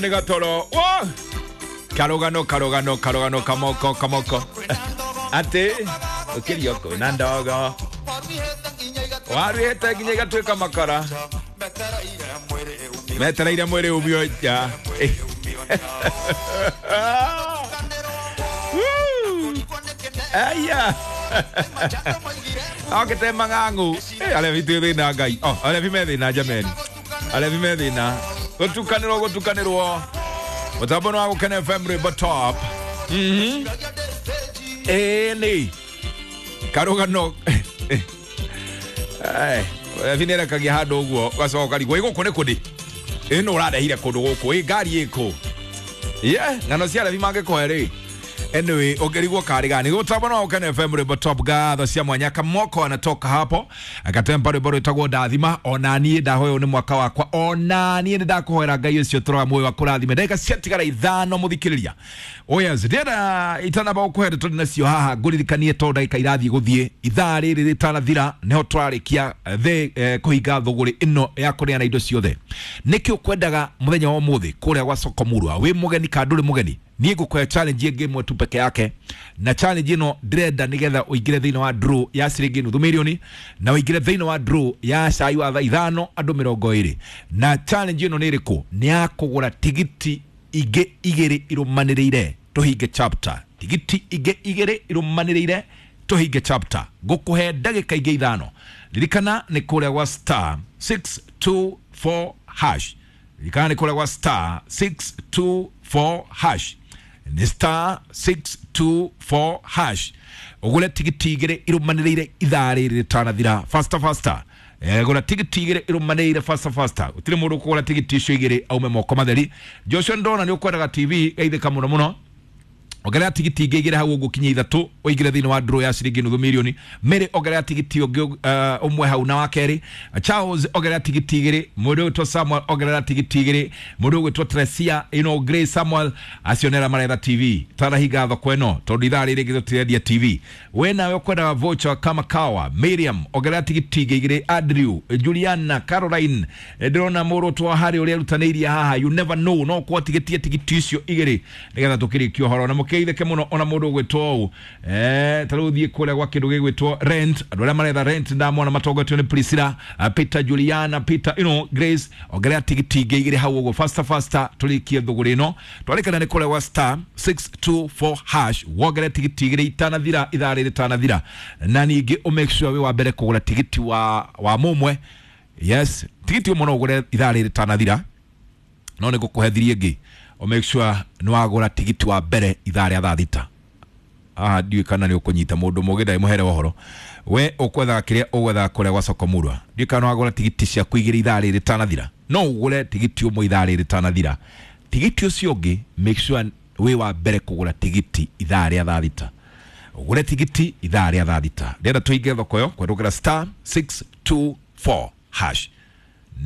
Nĩ gatoro. Wa! Karũgano, karũgano, karũgano, kamoko, kamoko. Atĩ ũkĩrio kwĩna ndogo waruhĩte nginya igatuĩka makara metereire mwĩrĩ umio nja. Aya okĩte mang'ang'u. Arebi twĩ thĩna Ngai. Oh, arebi me thĩna jameni, arebi me thĩna gũtukanĩrwo, gũtukanĩrwo mũtambo nĩ wa Gũkena FM, rwĩmbo top. Ĩĩ nĩ karũgano. Rebi nĩ erekagia handũ ũguo ũgacoka ũkarigwo ĩ gũkũ nĩ kũndĩ ĩ nũ ũrarehire kũndũ gũkũ ĩ ngari ĩkũ ye ng'ano cia rebi mangĩkũhe rĩ. Anyway, ũngĩrigwo karĩ gani gũtambo no Gũkena FM, rwĩmbo top. Ngatho cia mwanya. Kamoko anatoka hapo akatempa rwĩmbo rwĩtagwo Ndathima. Ona niĩ ndahoya nĩ mwaka wakwa, ona niĩ nĩ ndakũhoera Ngai ũcio tũraga muoyo wa kũrathime. Ndagĩka ciatigara 5, mũthikĩrĩria. Oh yes, ndĩrenda itanamba gũkũhe ndeto nacio haha ngũririkanie tondũ ndagĩka irathiĩ gũthiĩ. Ithaa rĩrĩ rĩtanathira nĩho tũrarĩkia thĩ kũhinga thũgũrĩ ĩno ya kũneana indo ciothe. Nĩkĩ ũkwendaga mũthenya wa ũmũthĩ kũrĩa gwa soko Murwa? Wĩ mũgeni kana ndũrĩ mũgeni, niĩ ngũkũhe challenge ĩngĩ ĩmwe tu peke yake, na challenge ĩno ndĩrenda nĩgetha ũingĩre thĩinĩ wa draw ya ciringi nuthu mirioni na ũingĩre thĩinĩ wa draw ya cai wa thaa 5 andũ 20. Na challenge ĩno nĩ ĩrĩkũ? Nĩ ya kũgũra tigiti ingĩ 2 irũmanĩrĩire tũhinge chapter. Tigiti ingĩ 2 irũmanĩrĩire tũhinge chapter. Ngũkũhe ndagĩka ingĩ 5. Ririkana nĩ kũrĩa gwa star 624 hash. Ririkana nĩ kũrĩa gwa star 624 hash, nĩ star 624 hash, ũgũre tigiti 2 irũmanĩrĩire ithaa rĩrĩ rĩtanathira. Faster, faster. Gũra tigiti 2 irũmanĩrĩire, faster, faster. Gũtirĩ mũndũ ũkũgũra tigiti icio 2 aume moko matheri. Joshua, ndona nĩ ũkwendaga TV, geithĩka mũno mũno. Ongerera tigiti ingĩ 2 hau ũguo kinya 3, ũingĩre thĩinĩ wa draw ya ciringi nuthu mirioni. Mary, ongerera tigiti ũngĩ ũmwe hau na wa kerĩ. Charles, ongerera tigiti 2. Mũndũ ũgwĩtwo Samuel, ongerera tigiti 2. Mũndũ ũgwĩtwo Tresia, you know, Grace, Samuel, acio nĩ arĩa maretha TV. Tanahinga thoko ĩno tondũ ithaa rĩrĩ rĩngĩ tũtirendia TV. We nawe ũkwendaga voucher kama kawa, Miriam, ongerera tigiti ingĩ 2. Andrew, Juliana, Caroline, ndĩrona mũrũtwo wa harĩ ũrĩa erutanĩirie haha. You never know, no ũkorwo tigĩtie tigiti icio 2 nĩgetha tũkĩrĩkie ũhoro na mũkĩgeithĩke mũno. Ona mũndũ ũgwĩtwo ũũ, ta rĩu thiĩ kũrĩa gwa kĩndũ gĩgwĩtwo rent. Andũ arĩa maretha rent ndamona matongoretio nĩ Priscilla, Peter, Juliana, Peter, you know, Grace, ongerera tigiti ingĩ 2 hau ũguo, faster, faster, tũrĩkie thũgũrĩ ĩno. Twarĩkana nĩ kũrĩa gwa star 624 hash, wongere tigiti 2 itanathira, ithaa rĩrĩ rĩtanathira, na ningĩ ũ make sure wĩ wa mbere kũgũra tigiti wa mũmwe. Yes, tigiti ũmwe no ũgũre ithaa rĩrĩ rĩtanathira, no nĩ ngũkũhe thiri ĩngĩ o make sure nĩ wagũra tigiti wa mbere ithaa rĩa thaa 6. Haha ndiũĩ kana nĩ ũkũnyita mũndũ mũgĩ ndagĩmũhere ũhoro. We ũkwethaga kĩrĩa ũgwethaga kũrĩa gwa soko Murwa, ndiũĩ kana nĩ wagũra tigiti ciaku 2 ithaa rĩrĩ rĩtanathira. No ũgũre tigiti ũmwe ithaa rĩrĩ rĩtanathira, tigiti ũcio ũngĩ make sure wĩ wa mbere kũgũra tigiti ithaa rĩa thaa 6. Ũgũre tigiti ithaa rĩa thaa 6. Ndĩrenda tũhinge thoko ĩyo kũhetũkĩra star 624 hash.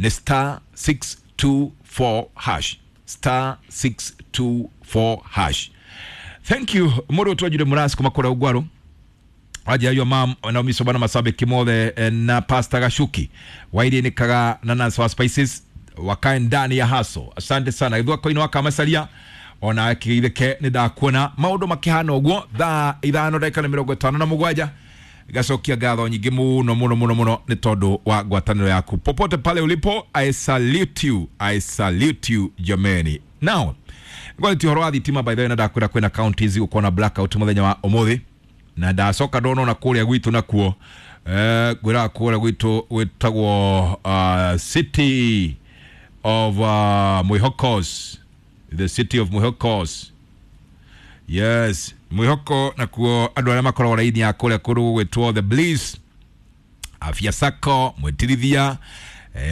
Nĩ star 624 hash, star 624 hash. Thank you mũndũ twanjire mũrasi kuma kũrĩa ũgwaru wanjia mam Naomi Sobana masabiki mothe, na Pastor Gashuki wairinikaga na Nancy wa Spices wakae ndani ya haso. Asante sana githua koino wa kamacaria ona kĩgeithĩke. Nĩ ndakuona maũndũ makĩhana ũguo. Thaa 5 ndagĩka nĩ 57. Gacokia ngatho nyingĩ mũno mũno mũno mũno nĩ tondũ wa ngwatanĩro yaku. Popote pale ulipo, I salute you, I salute you jameni. Now ngwarĩtie ũhoro wa thitima, by the way, na ndakwĩra kwĩna counties gũkorwo na blackout mũthenya wa ũmũthĩ, na ndacoka ndona ona kũrĩa gwitũ nakuo, ngwĩraga kũrĩa gwitũ gwĩtagwo city of Mwihokos, the city of Mwihokos. Yes, Mwihoko nakuo andũ arĩa makoragwo raini ya kũrĩa kũndũ gũgwĩtwo The Bliss, Afya Sacco, Mwitirithia,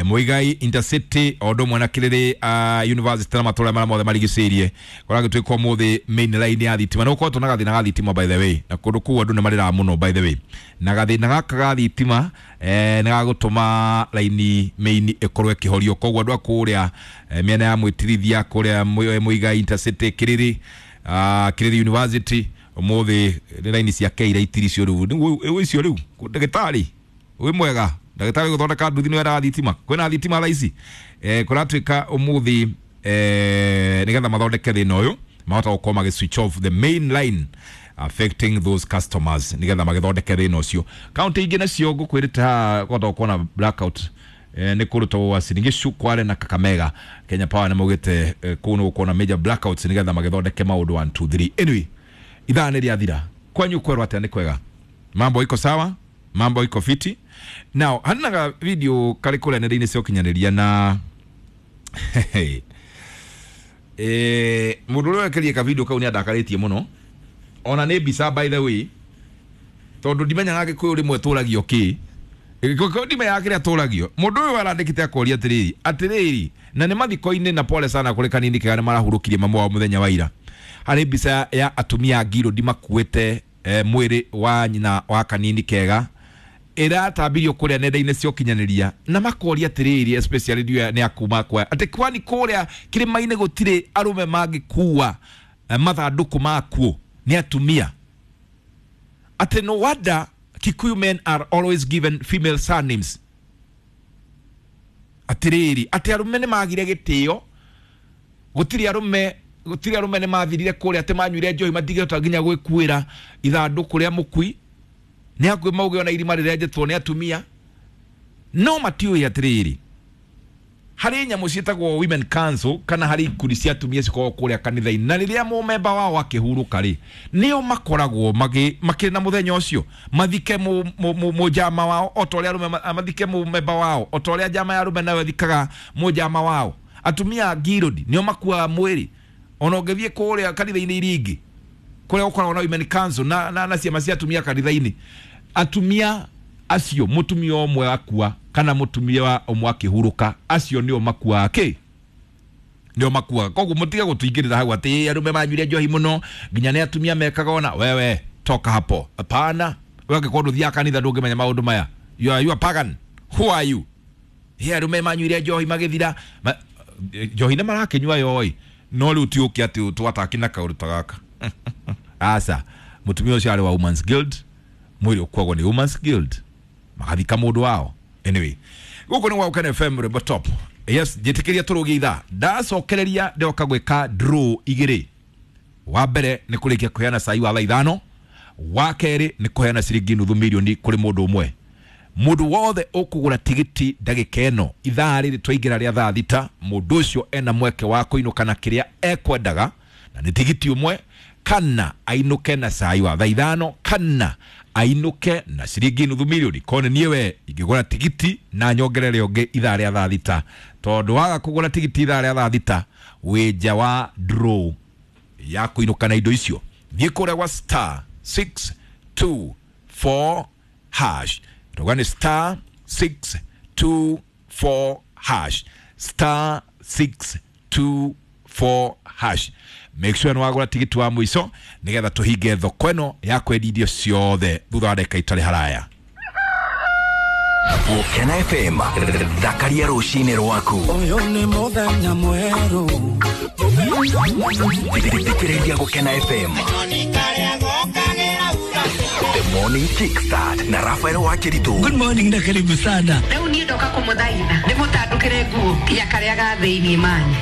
Muigai Intercity o ũndũ ũmwe na Kĩrĩrĩ University na matũra marĩa mothe marigicĩirie kũragĩtuĩka ũmũthĩ main line ya thitima nĩ gũkoretwo na gathĩna ga thitima, by the way, na kũndũ kũu andũ nĩ marĩraga mũno, by the way, na gathĩna gaka ga thitima nĩ gagũtũma raini main ĩkorwo ĩkĩhorio. Koguo andũ a kũrĩa mĩena ya Mwĩtirithia, kũrĩa Muigai Intercity, Kĩrĩrĩ, Kĩrĩrĩ University, ũmũthĩ nĩ raini cia Keira itiricio rĩu icio rĩu. Ndagĩtarĩ wĩ mwega, ndagĩtarĩ gũthondeka nduthi nĩ wendaga thitima. Kwĩna thitima thaa ici, kũratuĩka ũmũthĩ Nigetha mathondeke thina uyu mahota gukorwo magi switch off the main line affecting those customers nigetha magithondeke thina ucio. Kaunti ingĩ nacio ngukwirite haha kwenda gukorwo na blackout nĩ kũndũ ta Uasin Gishu, Kwale na Kakamega. Kenya Power nĩ maugĩte kũu nĩ gũkorwo na major blackouts nigetha magithondeke maũndũ 1 2 3. Anyway, ithaa nĩ rĩathira. Kwanyu kwerwo atĩa? Nĩ kwega? Mambo iko sawa? Mambo iko fiti? Now hanaga video kari kũrĩa nenda-inĩ cia ũkinyanĩria na mũndũ ũrĩa wekerie ka video kau nĩ andakarĩtie mũno, ona nĩ mbica by the way, tondũ ndimenyaga Gĩkũyũ rĩmwe tũragio kĩ. Gĩkũyũ ndimenyaga kĩrĩa tũragio. Mũndũ ũyũ arandĩkĩte akoria atĩrĩrĩ, atĩrĩrĩ, na nĩ mathiko-inĩ, na pole sana kũrĩ Kanini Kega nĩ marahurũkirie mamu wao mũthenya wa ira. Harĩ mbica ya atumia a Ngirũndi makuĩte mwĩrĩ wa nyina wa Kanini Kega ĩratambirio kũrĩa nenda-inĩ cia ũkinyanĩria, na makoria atĩrĩrĩ, especially nĩ akuma kwa atĩ kwani kũrĩa kĩrĩma-inĩ gũtirĩ arũme mangĩkua mathandũkũ makuo nĩ atumia, atĩ no wonder Kikuyu men are always given female surnames. Atĩrĩrĩ, atĩ arũme nĩ magire gĩtĩo, gũtirĩ arũme, gũtirĩ arũme nĩ mathirire kũrĩa, atĩ manyuire njohi matingĩhota nginya gwĩkuĩra ithandũkũ rĩa mũkui, nĩ hakuhĩ mauge ona irima rĩrenjetwo nĩ atumia. No matiũĩ atĩrĩrĩ, harĩ nyamũ ciĩtagwo women council kana harĩ ikundi cia atumia cikoragwo kũrĩa kanitha-inĩ, na rĩrĩa mũmemba wao akĩhurũka rĩ, nĩo makoragwo makĩrĩ na mũthenya ũcio mathike mũnjama wao o ta ũrĩa arũme mathike mũmemba wao o ta ũrĩa njama ya arũme nayo ĩthikaga mũnjama wao. Atumia a Ngirũndi nĩo makuaga mwĩrĩ. Ona ũngĩthiĩ kũrĩa kanitha-inĩ iria ingĩ kũrĩa gũkoragwo na women council na ciama cia atumia kanitha-inĩ, atumia acio mũtumia ũmwe akua kana mũtumia ũmwe akĩhurũka, acio nĩo makuaga kĩ, nĩo makuaga. Koguo mũtige gũtũingĩrĩra hau atĩ arũme manyuire njohi mũno nginya nĩ atumia mekaga ona. Wewe toka hapo, hapana. Wewe angĩkorwo ndũthiaga kanitha ndũngĩmenya maũndũ maya. You are pagan, who are you? He arũme manyuire njohi magĩthira njohi nĩ marakĩnyua yoi, no rĩu ti ũke atĩ twataki na kaũndũ ta gaka. Aca, mũtumia ũcio arĩ wa Women's Guild, mwĩrĩ ũkuagwo nĩ Women's Guild magathika mũndũ wao. Anyway, gũkũ nĩ gwa Gũkena FM Rwĩmbo Top. Yes, njĩtĩkĩria tũrũgie ithaa, ndacokereria ndoka gwĩka draw igĩrĩ. Wa mbere nĩ kũrĩkia kũheana cai wa thaa 5, wa kerĩ nĩ kũheana ciringi nuthu mirioni kũrĩ mũndũ ũmwe. Mũndũ wothe ũkũgũra tigiti ndagĩka ĩno ithaa rĩrĩ twaingĩra rĩa thaa 6, mũndũ ũcio ena mweke wa kũinũka na kĩrĩa ekwendaga, na nĩ tigiti ũmwe, kana ainũke na cai wa thaa 5, kana ainũke na ciringi nuthu mirioni. Kone niĩ we ingĩgũra tigiti na nyongerere ũngĩ ithaa rĩa thaa 6, tondũ waga kũgũra tigiti ithaa rĩa thaa 6 wĩ nja wa draw ya kũinũka na indo icio. Thiĩ kũrĩa gwa star 624 hash, tuga nĩ star 624 hash, star 624 hash. Make sure nĩ wagũra tigiti wa mũico nĩgetha tũhinge thoko ĩno ya kwendia irio ciothe thutha wa ndagĩka itarĩ haraya. Gũkena FM, thakaria rũcinĩ rwaku. Ũyũ nĩ mũthenya mwerũ. Thikĩrĩria Gũkena FM. The Morning Kickstart na Rafael Wakiritu. Good morning na karibu sana. Rĩu niĩ ndoka kũmũthaitha ndĩmũtandũkĩre nguo nginya karĩa ga thĩiniĩ manyu.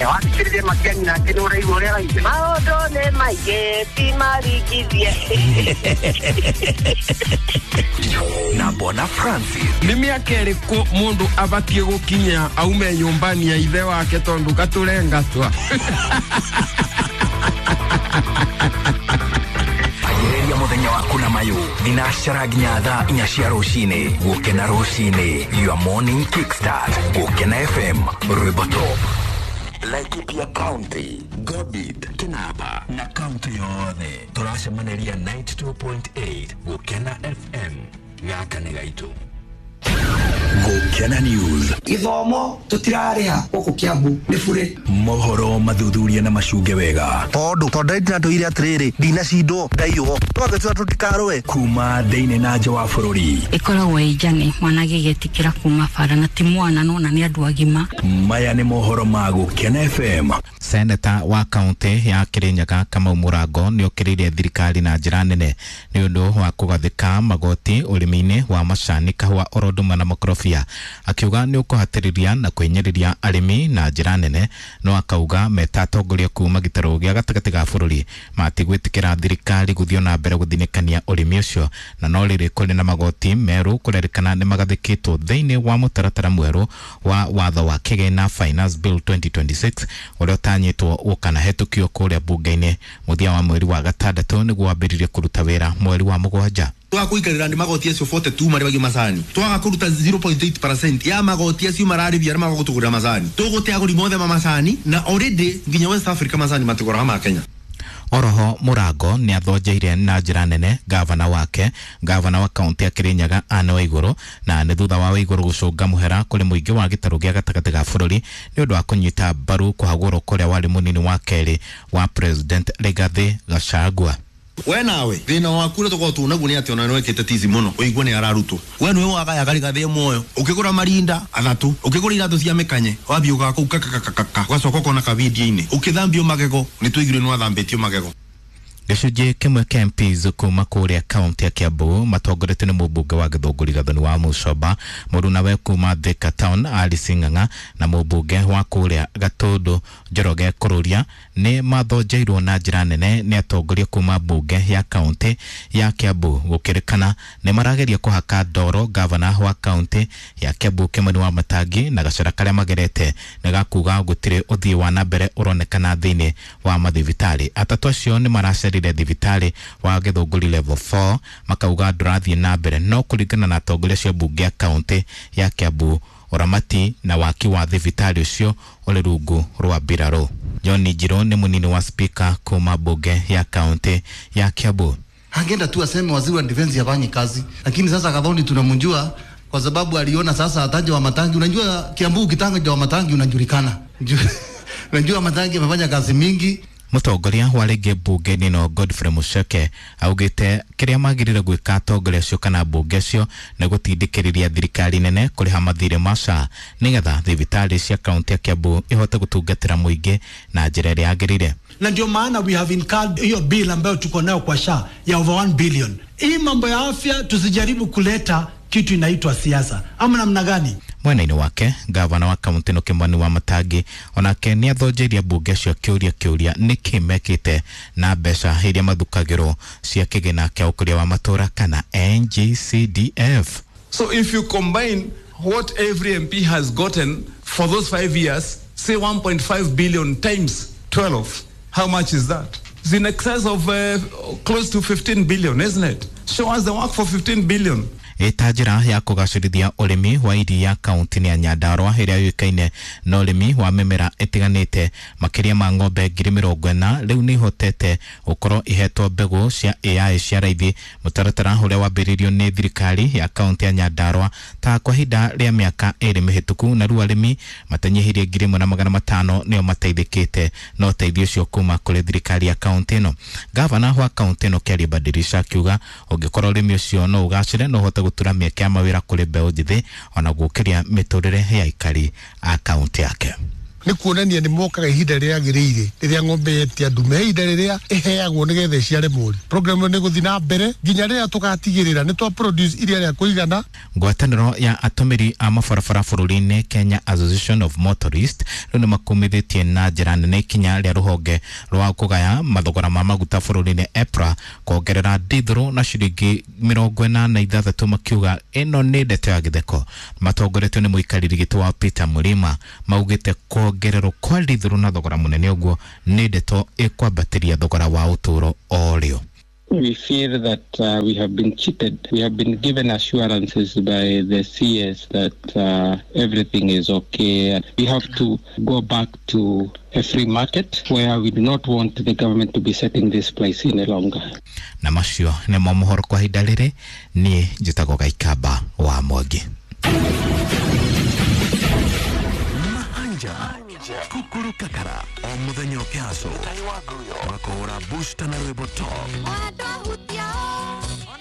Wakĩrĩrie Matiang'i nake nĩ ũraigua ũrĩa araigua. Maũndũ nĩ maingĩ ti maringithie. Na Bona Francis. Nĩ mĩaka ĩrĩkũ mũndũ abatiĩ gũkinya aume nyũmbani ya ithe wake tondũ gatũrengatwa? Anjĩrĩria mũthenya waku na mayũ thinacara nginya thaa 4 cia rũcinĩ. Gũkena rũcinĩ, your morning kickstart. Gũkena FM, Rwĩmbo Top. Laikipia County, Gobit, Kinapa na kaunti yothe tũracemanĩria 92.8 Gũkena FM. Gaka nĩ gaitũ. Gũkena News. Gĩthomo tũtirarĩha gũkũ Kiambu nĩ bure. Mohoro mathuthuria na macunge wega. Tondũ ndĩratũire atĩrĩrĩ, ndinacindwo ndaiywo twagĩtua tũtikarũe. Kuma thĩinĩ na nja wa bũrũri. Ĩkoragwo ĩ njane mwana agĩgĩtĩkĩra kuma bara na ti mwana nona nĩ andũ agima. Maya nĩ mohoro ma Gũkena FM. Seneta wa kaunti ya Kirinyaga Kamau Mũrango nĩ okĩrĩire thirikari na njĩra nene nĩ ũndũ wa kũgathĩka magoti ũrĩmi-inĩ wa macani, kahũa, oro ndũma na makorobia. makorobia akiuga nĩ ũkũhatĩrĩria na kwĩnyĩrĩria arĩmi na njĩra nene no akauga meta atongoria kuma gĩtarũ gĩa gatagatĩ ga bũrũri matigwĩtĩkĩra thirikari gũthiĩ na mbere gũthinĩkania ũrĩmi ũcio na no rĩrĩ kũrĩ na magoti merũ kũrerĩkana nĩ magathĩkĩtwo thĩinĩ wa mũtaratara mwerũ wa watho wa kĩgĩna Finance Bill 2026 ũrĩa ũtanyĩtwo gũkanahetũkio kũrĩa bunge-inĩ mũthia wa mweri wa gatandatũ nĩguo wambĩrĩrie kũruta wĩra mweri wa mũgwanja. Twaga ni magoti acio 42 marĩhagio macani, twaga kũruta 0.8% ya magoti acio mararĩhia arĩa maga gũtũgũrĩra macani, tũgũte agũri mothe ma macani na already nginya West Africa macani matigũraga ma Kenya. Oroho Murango nĩ athonjeire na njĩra nene gavana wake, gavana wa kaunti ya Kirinyaga Anne Waiguru, na nĩ thutha wa Waiguru gũcũnga mũhera kũrĩ mũingĩ wa gĩtarũ gĩa gatagatĩ ga bũrũri nĩ ũndũ wa kũnyita mbaru kũhagũrwo kũrĩa warĩ mũnini wa kerĩ wa President Rigathi Gachagua. We nawe thina waku ũrĩa tũkoragwo tuonaguo nĩ atĩ ona nĩwekĩte tizi mũno ũigue nĩ ararutwo. We nĩwe wagayaga Rigathi muoyo, ũkĩgũra marinda athatũ, ũkĩgũra iratũ cia mĩkanye, wambia ũgaga kũu kakakakaka, ũgacoka ũkona kavindio-inĩ ũkĩthambio magego, nĩ tũiguire nĩ wathambĩtio magego. Gĩcunjĩ kĩmwe kĩa MPs kuma kũrĩa kaunti ya Kiambu matongoretio nĩ mũmbunge wa Gĩthũngũri Gathoni wa Mũcomba mũrunawe kuma Thika Town Alice Ng'ang'a na mũmbunge wa kũrĩa Gatũndũ Njoroge Kũrũria nĩ mathonjeirwo na njĩra nene nĩ atongoria kuma mbunge ya kaunti ya Kiambu gũkĩrĩkana nĩ marageria kũhaka ndoro gavana wa kaunti ya Kiambu Kimani wa Matangi na gacĩra karĩa magerete nĩ gakuga gũtirĩ ũthii wa na mbere ũronekana thĩinĩ wa mathibitarĩ. Atatũ acio nĩ maracerire thibitarĩ wa Gĩthũngũri level 4 makauga ndũrathiĩ na mbere no kũringana na atongoria acio mbunge ya kaunti ya Kiambu ũramati na waki wa thibitarĩ ũcio ũrĩ rungu rwa mbirarũ. John Njirũ nĩ mũnini wa spika kuma mbunge ya kaunti ya Kiambu. Angeenda tu aseme waziri wa defense hafanyi kazi, lakini sasa Gathoni tunamjua kwa sababu aliona sasa ataje wa Matangi. Unajua Kiambu ukitanga wa Matangi unajulikana. Unajua Matangi amefanya kazi mingi. Mũtongoria wa rĩngĩ mbunge-inĩ no Godfrey Mucheke augĩte kĩrĩa magĩrĩire gwĩka atongoria acio kana mbunge acio nĩ gũtindĩkĩrĩria thirikari nene kũrĩha mathirĩ ma SHA nĩgetha thibitarĩ cia kaunti ya Kiambu ihote gũtungatĩra mũingĩ na njĩra ĩrĩa yagĩrĩire. Na ndio maana we have incurred hiyo bill ambayo tuko nayo kwa SHA ya over 1 billion. Hii mambo ya afya tusijaribu kuleta kitu inaitwa siasa ama namna gani? Mwena-inĩ wake gavana wa kaunti ĩno Kimani wa Matangi onake nĩ athonjeirie mbunge acio kĩũria nĩkĩ mekĩte na mbeca iria mathukagĩrwo cia kĩgĩna kĩa ũkũria wa matũra kana NGCDF. So if you combine what every MP has gotten for those 5 years, say 1.5 billion times 12, how much is that? It's in excess of close to 15 billion, isn't it? Show us the work for 15 billion. Ĩta njĩra ya kũgacĩrithia ũrĩmi wa iria kaunti-inĩ ya Nyandarua ĩrĩa yũĩkaine na ũrĩmi wa mĩmera ĩtiganĩte. Makĩria ma ng'ombe 40,000 rĩu nĩ ihotete gũkorwo ihetwo mbegũ cia AI cia raithi, mũtaratara ũrĩa wambĩrĩirio nĩ thirikari ya kaunti ya Nyandarua ta kwa ihinda rĩa mĩaka 2 mĩhĩtũku, na rĩu arĩmi matanyihĩirie 1,500 nĩo mateithĩkĩte na ũteithio ũcio kuma kũrĩ thirikari ya kaunti ĩno. Gavana wa kaunti ĩno Kĩarie Badirisha akiuga ũngĩkorwo ũrĩmi ũcio no ũgacĩre no ũhote gũtura mĩeke ya mawĩra kũrĩ mbeũ njĩthĩ ona gũkĩria mĩtũrĩre ya aikari a kaunti yake. Nĩ kuonania nĩ mokaga ihinda rĩrĩa rĩagĩrĩire rĩrĩa ng'ombe yetia ndume, ihinda rĩrĩa ĩheagwo nĩgetha ĩciare mũri. Program ĩyo nĩ ĩgũthiĩ na mbere nginya rĩrĩa tũgatigĩrĩra nĩ twa produce iria rĩa kũigana. Ngwatanĩro ya atũmĩri a mabarabara bũrũri-inĩ Kenya Association of Motorists rĩu nĩ makumithĩtie na njĩra nene ikinya rĩa rũhonge rwa kũgaya mathogora ma maguta bũrũri-inĩ EPRA kuongerera ndithũrũ na ciringi 86, makiuga ĩno nĩ ndeto ya gĩtheko. Matongoretio nĩ mũikarĩri gĩtĩ wa Peter Mũrima maugĩte kuongererwo kwa ndithũrũ na thogora mũnene ũguo nĩ ndeto ĩkwambatĩria thogora wa ũtũũro o rĩo. We feel that we have been cheated. We have been given assurances by the CS that everything is okay. We have to go back to a free market where we do not want the government to be setting this price any longer. Na macio nĩmo mohoro kwa ihinda rĩrĩ. Niĩ njĩtagwo Gaikamba wa Mwangi. Kukuru kakara o muthenya ũkĩhaco makũhũra booster na rwĩmbo top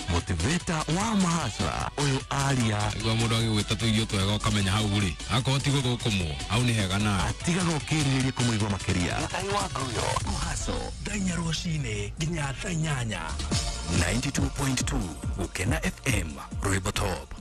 motivator wa mahacra ũyũ aria nĩguo mũndũ agĩgwĩta tũirio twega ũkamenya hau rĩ akorwo ti gũthũkũmwo hau nĩ hega nawe atigaga ũkĩrirĩria kũmũigua makĩria. Kũhaco thaa inya rũcinĩ nginya thaa inyanya. 92.2 Gũkena FM rwĩmbo top.